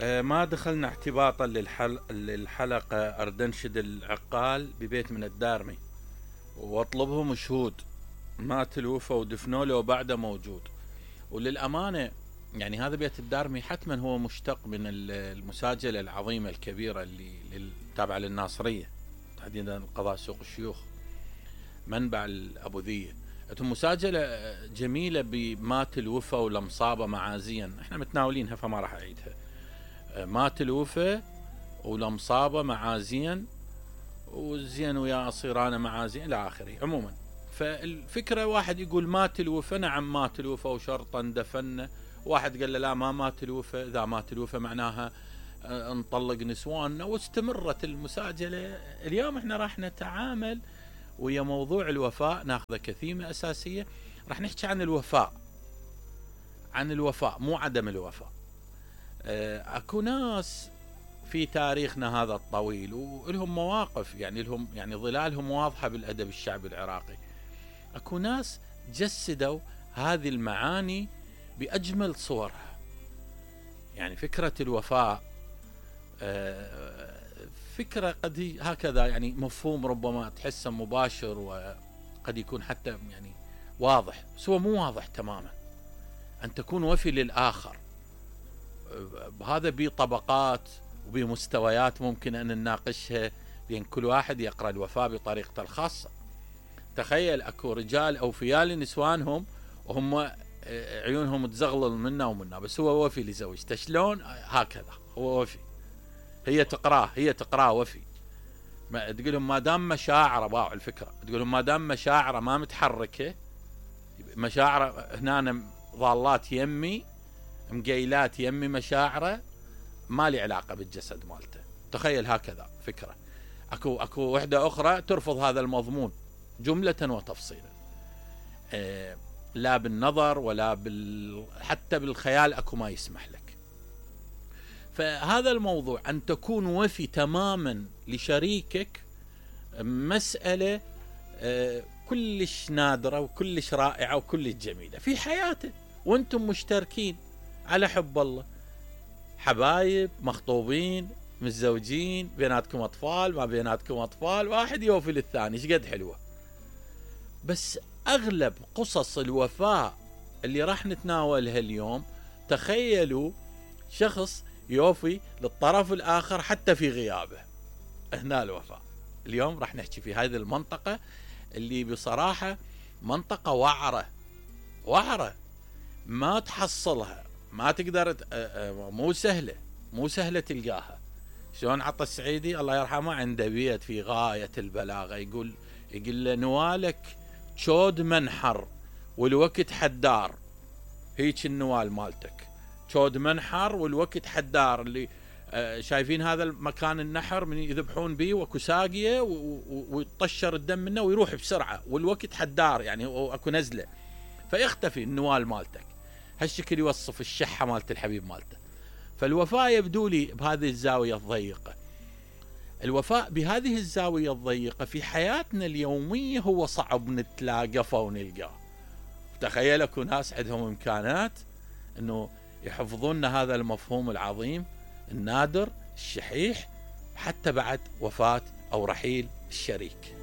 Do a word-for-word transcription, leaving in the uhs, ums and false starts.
آه، ما دخلنا احتباطا للحل... للحلقة أردنشد العقال ببيت من الدارمي واطلبهم شهود. مات الوفا ودفنوا له وبعده موجود. وللأمانة يعني هذا بيت الدارمي حتما هو مشتق من المساجلة العظيمة الكبيرة اللي تابعة للناصرية، تحديدا قضاء سوق الشيوخ منبع الأبوذية. مساجلة جميلة بمات الوفا ولمصابة معازيا، احنا متناولينها فما راح أعيدها. مات الوفا ولمصابة معازيا وزين ويا أصيران معازيا إلى آخره. عموما فالفكرة واحد يقول مات الوفا، نعم مات الوفا وشرطا دفن. واحد قال له لا ما مات الوفا، إذا مات الوفا معناها نطلق نسواننا. واستمرت المساجلة. اليوم احنا راح نتعامل ويا موضوع الوفاء، ناخذ كثيمة أساسية. راح نحكي عن الوفاء، عن الوفاء مو عدم الوفاء. اكو ناس في تاريخنا هذا الطويل ولهم مواقف، يعني لهم يعني ظلالهم واضحة بالأدب الشعبي العراقي. اكو ناس جسدوا هذه المعاني بأجمل صورها. يعني فكرة الوفاء فكرة قد هكذا، يعني مفهوم ربما تحسه مباشر وقد يكون حتى يعني واضح، بس هو مو واضح تماما. أن تكون وفي للآخر هذا بطبقات وبمستويات ممكن أن نناقشها، بين كل واحد يقرأ الوفاء بطريقته الخاصة. تخيل أكو رجال أوفياء لنسوانهم وهم عيونهم تزغلل منا ومنا، بس هو وفي لزوجته. شلون؟ هكذا هو وفي. هي تقراه هي تقراه وفي. ما تقولهم ما دام مشاعره، باع الفكرة، تقولهم ما دام مشاعره ما متحركة، مشاعره هنا ضالات يمي مقيلات يمي، مشاعره ما لي علاقة بالجسد مالته. تخيل هكذا فكرة. اكو اكو وحدة اخرى ترفض هذا المضمون جملة وتفصيلا، إيه لا بالنظر ولا بال حتى بالخيال اكو ما يسمح لك. فهذا الموضوع أن تكون وفي تماما لشريكك مسألة كلش نادرة وكلش رائعة وكلش جميلة في حياته، وانتم مشتركين على حب الله، حبايب، مخطوبين، متزوجين، بيناتكم أطفال، ما بيناتكم أطفال، واحد يوفي للثاني. ايش قد حلوة. بس أغلب قصص الوفاء اللي راح نتناولها اليوم، تخيلوا شخص يوفي للطرف الآخر حتى في غيابه. هنا الوفاء. اليوم راح نحكي في هذه المنطقة اللي بصراحة منطقة وعرة وعرة ما تحصلها، ما تقدر، مو سهلة مو سهلة تلقاها. شلون عطى السعيدي الله يرحمه عنده بيت في غاية البلاغة، يقول يقول له نوالك شود منحر والوقت حدار. هيك النوال مالتك شود منحر والوقت حدار. اللي آه شايفين هذا المكان النحر من يذبحون به وكساقية ويطشر الدم منه ويروح بسرعة، والوقت حدار يعني اكو نزلة فيختفي النوال مالتك. هالشكل يوصف الشحة مالت الحبيب مالته. فالوفاء يبدو لي بهذه الزاوية الضيقة. الوفاء بهذه الزاوية الضيقة في حياتنا اليومية هو صعب نتلاقفه ونلقاه. تخيل اكو ناس عندهم امكانات انه يحفظون هذا المفهوم العظيم النادر الشحيح حتى بعد وفاة او رحيل الشريك.